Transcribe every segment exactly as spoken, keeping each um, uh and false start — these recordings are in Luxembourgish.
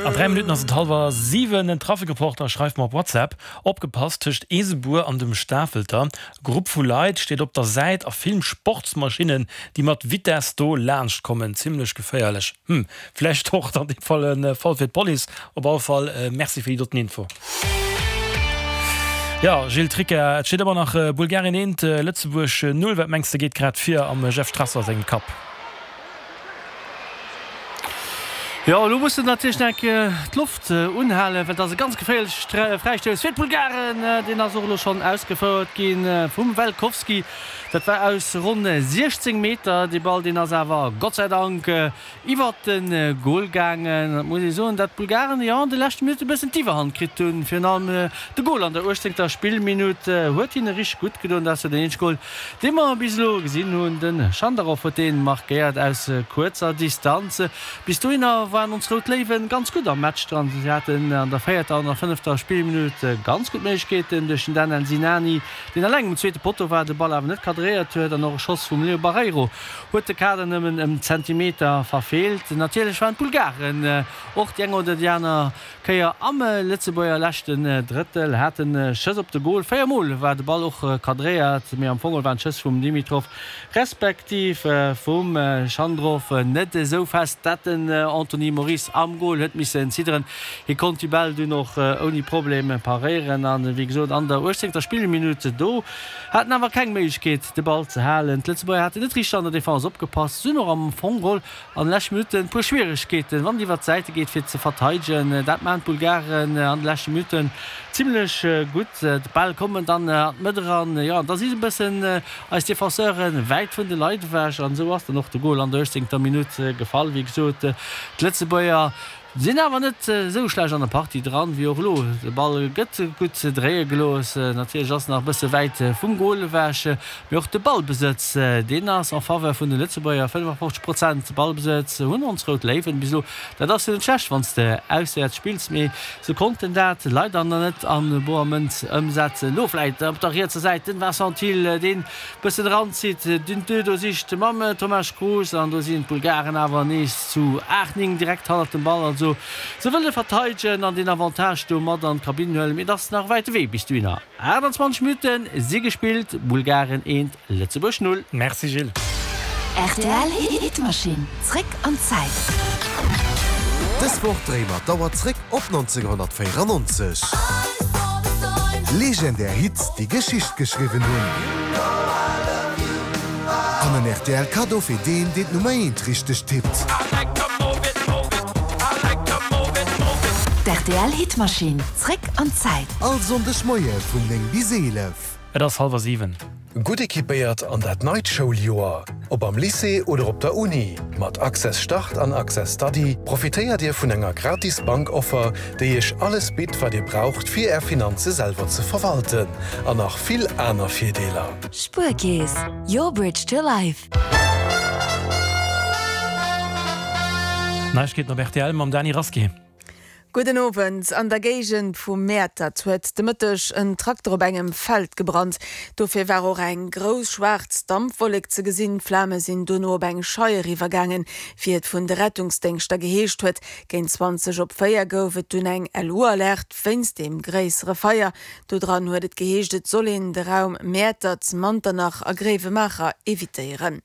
An dräi Minutten ass et hallwer siwen. En Trafikreporter schreift mer op WhatsApp, Opgepasst, tëscht Eesebuer an dem Stafelter, Grupp vu Leit steet op der Säit a filmt Sportsmaschinnen, déi mat Vitess do laanscht kommen. Zimmlech geféierlech. Hm, vläicht och an deem Fall e Fall fir d'Police. Op alle Fall Merci fir déi doten Info. Jo, Gilles Tricca, et steet ëmmer nach Bulgarien eent, Lëtzebuerg null. Wat mengs de geet grad vir am Jeff Strasser sengem Kapp? Jo, elo muss en natierlech nach eng Kéier d'Loft unhalen, well et ass e ganz geféierleche Fräistouss fir d'Bulgaren. Deen ass och elo schonn ausgefouert gi vum Velkovski. Dat war aus ronn siechzéng Meter. Dee Ball, deen ass awer Gott sei Dank iwwert de Gol gaangen. Et muss ee soen, dat d'Bulgaren, jo, an de leschte Minutte e bëssen d'Iwwerhand kritt hunn. Virun allem de Gol an der uechtzéngter Spillminutt huet hinne richteg gutt gedoen. Dat ass jo den eenzege Gol, dee mer bis elo gesinn hunn. De Schandarov huet dee markéiert aus kuerzer Distanz. Bis dohinner waren ons Rout Léiwen ganz gutt am Match dran. Si haten an der véierter an der fënnefter Spillminutt ganz gutt Méiglechkeeten duerch den Danel Sinani, deen eleng um zweete Potto war, de Ball awer net kadréiert huet an och e Schoss vum Leo Barreiro huet de Kader nëmmen ëm Zentimeter verfeelt. Natierlech waren d'Bulgaren och déi eng oder déi aner Kéier am Lëtzebuerger leschten Drëttel, haten Schëss op de Gol. Véier Mol war de Ball och kadréiert, mee am Fong waren d'Schëss vum Dimitrov respektiv vum Chandrov net esou fest, dat den Anthony Moris am Gol huet missen zidderen. Hie konnt déi Bäll dunn och ouni Problem paréieren an wéi gesot an der uechtzéngter Spillminutt do hat en awer keng Méiglechkeet de Ball ze halen. D'Lëtzebuerger haten net richteg an der Defense opgepasst, si hunn och am Fong geholl an de leschte Minutten e puer Schwieregkeeten, wann et iwwert d'Säite geet, fir ze verteidegen. Dat maachen d'Bulgaren an de leschte Minutten zimlech gutt. D'Bäll kommen dann an d'Mëtt eran, jo, an da si se e bëssen eis Defenseuren wäit vun de Leit ewech an esou ass dann och de Gol an der uechtzéngter Minutt gefall. Wéi gesot, d'Lëtzebuerger sinn awer net esou schlecht an der Partie dran, wéi och elo. De Ball gëtt gutt dréie gelooss, natierlech ass en nach e bësse wäit vum Gol ewech, mee och de Ballbesëtz, deen ass en faveur vun de Lëtzebuerger, fënnefafofzeg Prozent Ballbesëtz hunn ons Rout Léiwen bis elo. Dat ass jo net schlecht, wann s de auswäerts spills, mee se konnten dat leider nach net a boer Mënz ëmsetzen. Elo vläit op der rietser Säit den Vincent Thill, deen bëssen eranzitt, den Deux do sicht mam Tomasz Krus an do sinn d'Bulgaren awer nees zu aacht, néng direkt hannert dem Ball. Also se wëlle verteidegen an den Avantage do mat an d'Kabinn huelen, mee et ass nach e wäite Wee bis dohinner. aachtanzwanzeg Minutte si gespillt, Bulgaren eent, Lëtzebuerg null. Merci Gilles. Rtl Hitmaschinn, zréck an d'Zäit. Dës Woch dréie mer d'Auer zréck op nonzénghonnertvéierannonzeg. Legendär Hits, déi Geschicht geschriwwen hunn. An en rtl Kaddo fir deen, deen d'Nummer eent richteg tippt. D'rtl Hitmaschinn, zréck an d'Zäit. All Sonndeg Moie vun néng bis eelef. Et ass hallwer siwen. Gutt equipéiert an dat neit Schouljoer! Ob am Lycée oder op der Uni, mat Access Start an Access Study profitéiert Dir vun enger gratis Bankoffer, déi Iech alles bitt, wat Dir braucht, fir Är Finanze selwer ze verwalten. An nach vill aner Virdeeler. Spuerkeess, your bridge to life. Neiegkeeten op rtl mam Dany Rasqué. Gudden Owend. An der Géigend vu Mäertert huet de Mëtteg en Trakter op engem Feld gebrannt. Dofir war och eng grouss schwaarz Dampwollek ze gesinn. D'Flame sinn dono op eng Scheier iwwergaangen, wéi et vun de Rettungsdéngschter geheescht huet. Géint zwanzeg op véier gouf et dunn eng L U-Alerte wéinst deem gréissere Feier. Dodran huet et geheescht, et soll een de Raum Mäertert, Manternach a Gréiwemaacher evitéieren.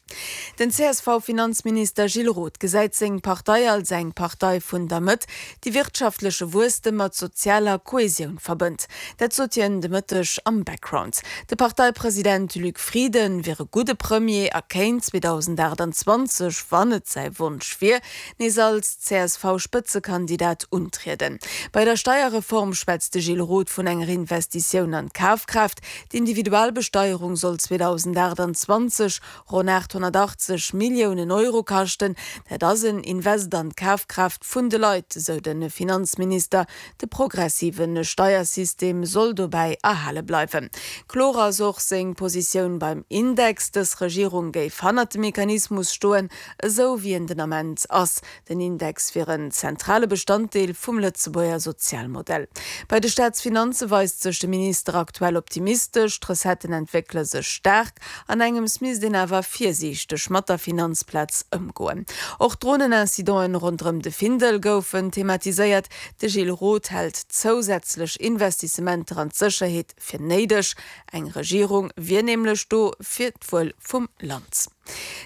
Den C S V-Finanzminister Gilles Roth gesäit seng Partei als eng Partei vun der Mëtt, déi wirtschaftleche Wuesstem mat sozialer Kohesioun verbënnt. Dat sot hien de Mëtteg am Background. De Parteipresident Luc Frieden wier e gudde Premier a kéint zweedausendachtanzwanzeg, wann et säi Wonsch wier, nees als C S V-Spëtzekandidat untrieden. Bei der Steierreform schwätzt de Gilles Roth vun enger Investitioun an d'Kafkraaft. D'Individualbesteierung soll zweedausendachtanzwanzeg ronn aathonnertachtzeg Milliounen Euro kaschten. Dat ass en Invest an d'Kafkraaft vun de Leit, esou de Finanzminister. De progressive Steiersystem soll dobäi erhale bleiwen. Kloer ass och seng Positioun beim Index. Dës Regierung géif hannert dem Mechanismus stoen, esou wéi en den Ament ass. Den Index wier en zentrale Bestanddeel vum Lëtzebuerger Sozialmodell. Bei de Staatsfinanze weist sech de Minister aktuell optimistesch. D'Recetten entwéckele sech staark. An engems misst een awer virsiichteg mat der Finanzplaz ëmgoen. Och d'Dronenincidenten ronderëm de Findel goufen thematiséiert. De Gilles Roth hält zousätzlech Investissementer an d'Sécherheet fir néideg. Eng Regierung wier nämlech do fir d'Wuel vum Land.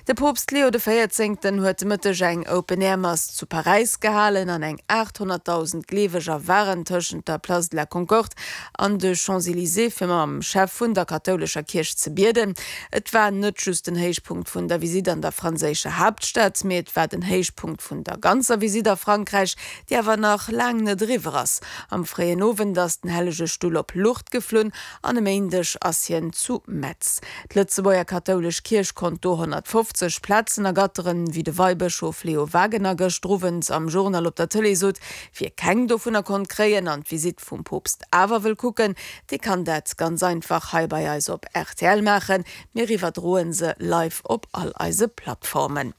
De Poopst Leo de Véierzéngten huet de Mëtteg eng Open-Air-Mass zu Paräis gehalen an eng aathonnertdausend Gleeweger waren tëschent der Place de la Concorde an de Champs-Elysées fir mam Chef vun der kathoulescher Kierch ze bieden. Et war net just den Héichpunkt vun der Visitt an der franséischer Haaptstad, mee et war den Héichpunkt vun der ganzer Visitt a Frankräich, déi awer nach laang net eriwwer ass. Am fréien Owend ass den Hellege Stull op Lourdes geflunn an e Méindeg ass hien zu Metz. D'Lëtzebuerger kathoulesch Kierch konnt do honnertfofzeg Plazen ergatteren, wéi de Weibëschof Leo Wagener gëschter Owend am Journal op der Tëlee sot. Wie keng dovunner konnt kréien an d'Visitt vum Poopst awer wëll kucken, dee kann dat ganz einfach hei bei eis op rtl maachen. Mir iwwerdroen se live op all eise Plattformen.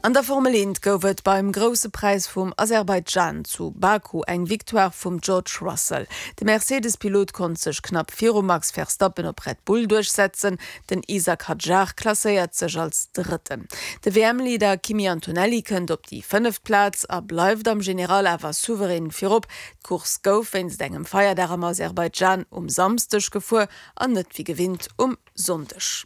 An der Formel eent gouf et beim Grousse Präis vum Aserbaidschan zu Baku eng Victoire vum George Russell. De Mercedes-Pilot konnt sech knapp virum Max Verstappen op Red Bull duerchsetzen. Den Isack Hadjar klasséiert sech als Drëtten. De W M-Leader Kimi Antonelli kënnt op déi fënneft Plaz a bleift am General awer souverän virop. D'Course gouf wéinst engem Feierdag am Aserbaidschan um Samsdeg gefuer an net wéi gewinnt um Sonndeg.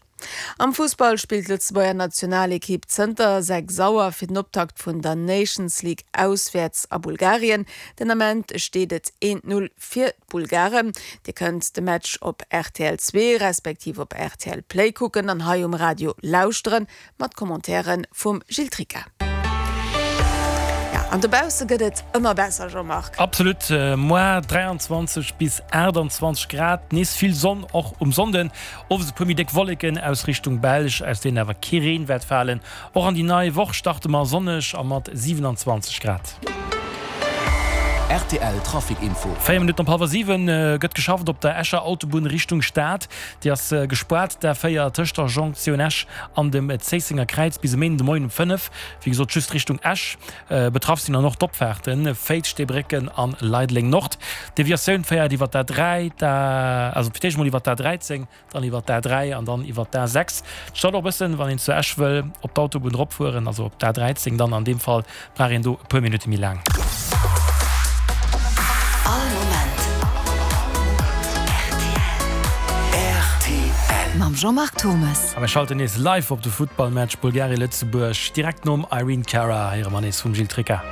Am Fussball spillt d'Lëtzebuerger Nationalekipp zënter sechs Auer fir den Optakt vun der Nations League auswäerts a Bulgarien. Den Ament steet et eent Null fir d'Bulgaren. Dir kënnt de Match op rtl zwee respektiv op rtl Play kucken an hei um Radio lauschteren, mat Commentairen vum Gilles Tricca. An dobausse gëtt et ëmmer besser, Jean-Marc. Absolut, moar dräianzwanzeg bis aachtanzwanzeg Grad, nees vill Sonn och um Sonnden. Owes e puer méi déck Wolleken aus Richtung Belsch, aus deenen awer kee Reen wäert falen. Och an déi nei Woch starte mer sonneg a mat siwenanzwanzeg Grad. Rtl Trafic Info. Véier Minutten op hallwer siwen gëtt geschafft op der Escher Autobunn Richtung Stad. Déi ass gespaart, d'A véier tëscht der Jonktioun Esch an dem Zéissenger Kräiz bis e Méinden de Moien um fënnef. Wéi gesot just Richtung Esch. Betraff sinn dann och d'Opfaarten Féiz, Steebrécken an Leideleng Nord. D'Deviatioun féiert iwwer d'A dräi, d'A, also fir d'éischt emol iwwer d'A dräizéng, dann iwwer d'A dräi an dann iwwer d'A sechs. Et staut och e bëssen, wann een zu Esch wëll op d'Autobunn eropfueren, also op d'A dräizéng dann an deem Fall brauch een do e puer Minutte méi laang. All Moment rtl. Mam Jean-Marc Thomes. A mir schalten nees live op de Futtballmatch Bulgarien-Lëtzebuerg, direkt nom Irene Cara héiere mer nees vum Gilles Tricca.